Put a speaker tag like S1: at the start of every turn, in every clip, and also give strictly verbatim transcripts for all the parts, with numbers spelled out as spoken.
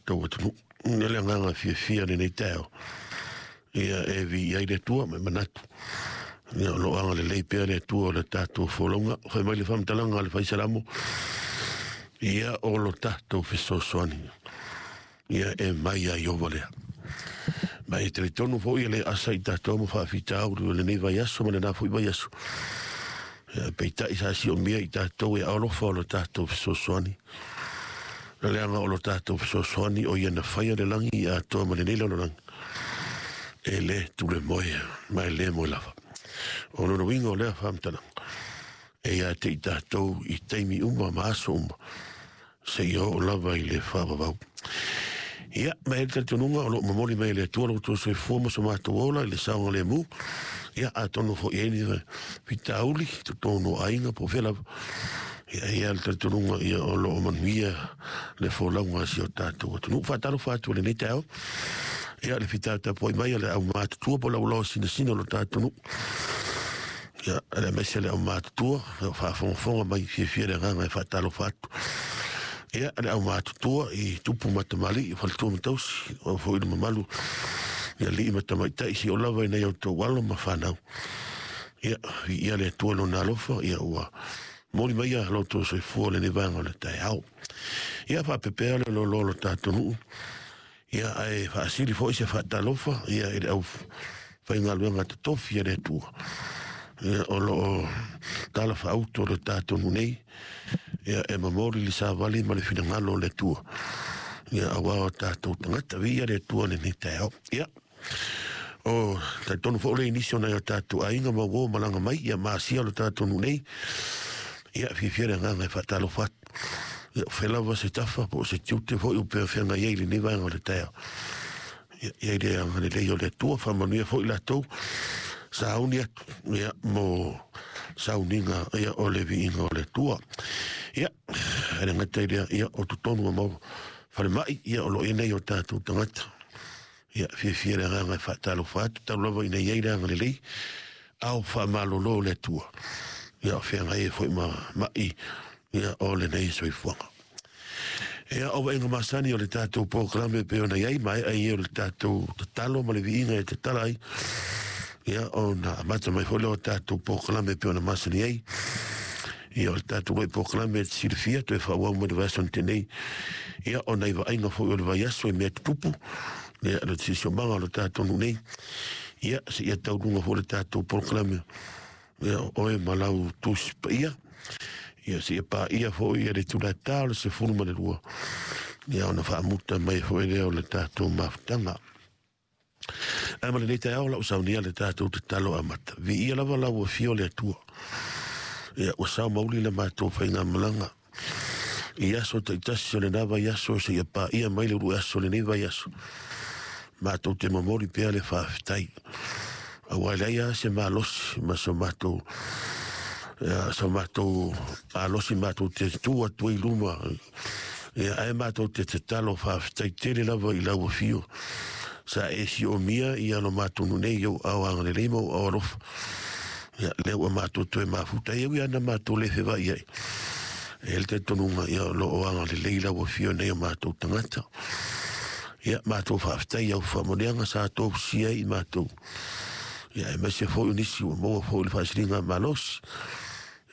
S1: tatou atunuu. O le agaga fiafia lenei taeao, ia e viia ai le Atua ma e manatu ia o loo agalelei pea le Atua o le tatou folauga. Fai mai le faamatalaga a le Faisalamo, ia o lo tatou fesoasoani ia e mai ia Ieova lea. Ma e talitonu foi e le asa i tatou ma faafitauli o lenei vaiaso ma lena foi vaiaso. Ia peitai sa siomia i tatou e alofa o lo tatou fesoasoani. O le leaga o lo tatou fesoasoani o ia na faia le lagi i atoa ma lenei lalolagi. E le tule moe ma e le moe lava. O lona uiga o lea faamatalaga e ia te i tatou i taimi uma ma aso uma seia oo lava i le faavavau. Ia, ma e le talitonuga o loo momoli mai e le Atua lo outou soifua ma so matou ola i le saogalemu. Ia, atonu foi i ai ni fitauli totonu o aiga po o fea lava. Ia, e i ai le talitonuga ia o loo manuia le folauga a si o tatou atunuu. Faatalofa atu i lenei taeao. Ia, le fitatapuai mai a le aumatutua po o le auloa sinasina o lo tatou nuu. Ia, aemaise le aumatutua, faafogafoga mai fiafia le agaga e faatalofa atu. Ia, le aumatutua i tupu ma tamalii, faletua ma tausi, o foi le mamalu i alii ma tamaitai si o lava i nai outou alo ma fanau. Ia, viia le Atua i lona alofa, ia ua momoli mai lo outou soifua lenei vaega o le taeao. Ia, faapepea le loaloa o lo tatou nuu. Ia, ae faasili foi se faatalofa ia i le aufaigaluega totofi a le Atua. Ia, o loo tala faauto o le tatou nuu nei. Ia, e momoli le savali ma le finagalo o le Atua. Ia, aua o tatou tagata, viia le Atua lenei taeao. Ia, o talitonu foi o le nisi o nai o tatou aiga ma uo malaga mai ia masia lo tatou nuu nei. Ia, fiafia le agaga e faatalofa atu. Ia, o fea lava se tafa po o se tiute foi o pea feagai ai i lenei vaega o le taeao. Ia, ia i le agalelei o le Atua, faamanuia foi latou sauni atu ia mo sauniga ia o le viiga o le Atua. Ia, e le gata i lea, ia o totonu o mau falemai ia o loo i ai nai o tatou tagata. Ia, fiafia le agaga e faatalofa atu, talu lava ina i ai le agalelei ao faamalolo le Atua. Ia, o feagai ai foi ma mai ia o lenei soifuaga. Ia, o vaaiga masani o le tatou polokalame pei ona i ai, maea ia o le tatou tatalo ma le viiga e tatala ai. Ia, ona amata mai foi lea o tatou polokalame pei ona masani ai. Ia, o le tatou loi polokalame e te silafia, toe faaauau mai le vaiaso na tea nei. Ia, o nai vaaiga foi o le vaiaso i mea tutupu, ia, le siosiomaga o le tatou nuu nei. Ia, seia taunuuga foi le tatou polokalame, ia, o oe ma lau tusi paia. Ia, seia paia foi ia le itula o le sefulu ma le lua. Ia, ona faamuta mai foi lea o le tatou mafutaga. Ae ma lenei taeao lau saunia le tatou tatalo amata. Viia lava lau afio o le Atua. Ia, ua sao mauli le matou faigamalaga i aso taitasi o lena vaiaso seia paia mai le uluai aso o lenei vaiaso. Matou te momoli pea le faafetai. Aua e leai lava se malosi ma so matou ia, so matou malosi matou te tu atu ai i luma. Ia, ae matou te tatalo faafetai tele lava i lau afio. Sa e siomia ia lo matou nuu nei i ou aao agalelei ma ou aao alofa. Ia, lea ua matou toe mafuta ai, e ui lava ina matou le fevaai ai. E i ai le talitonuga ia o loo agalelei lau afio nei o matou tagata. Ia, matou faafetai i au faamanuiaga sa tofusia ai i matou. Ia, aemaise foi o nisi ua maua foi le faasiliga malosi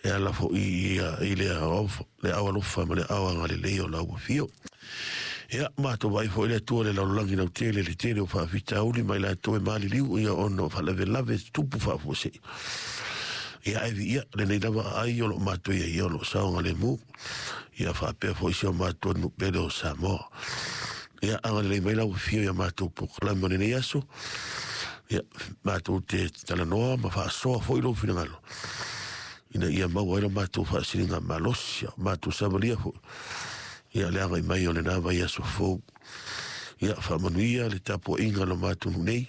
S1: e ala foi i le ao alofa ma le ao agalelei o lau afio. Ia, matou vaai foi le Atua i le lalolagi lautele, le tele o faafitauli ma i latou e maliliu ia ona o faalavelave tupu faafuasei. Ia, ae viia lenei lava aai o loo matou i ai, ia o loo saogalemu. Ia, faapea foi si o matou nuu pele o Samoa. Ia, agalelei mai lau afio ia matou polokalame o lenei aso. Ia, matou te talanoa ma faasoa foi lou finagalo ina ia maua ai lo matou faasiliga malosi, ia matou savalia foi ia le agai mai o lena vaiaso fou. Ia, faamanuia le tapuaiga o lo matou nuu nei,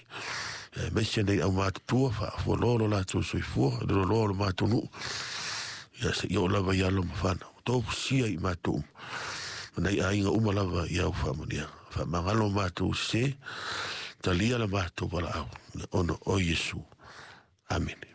S1: aemaise nei aumatutua faafualoa lo latou soifua, le loaloa o lo matou nuu. Ia, seia oo lava i alo ma fanau, tofusia i matou uma ma nai aiga uma lava i au faamanuiaga. Faamagalo matou sese, talia la matou valaau, ona o Iesu. Amene.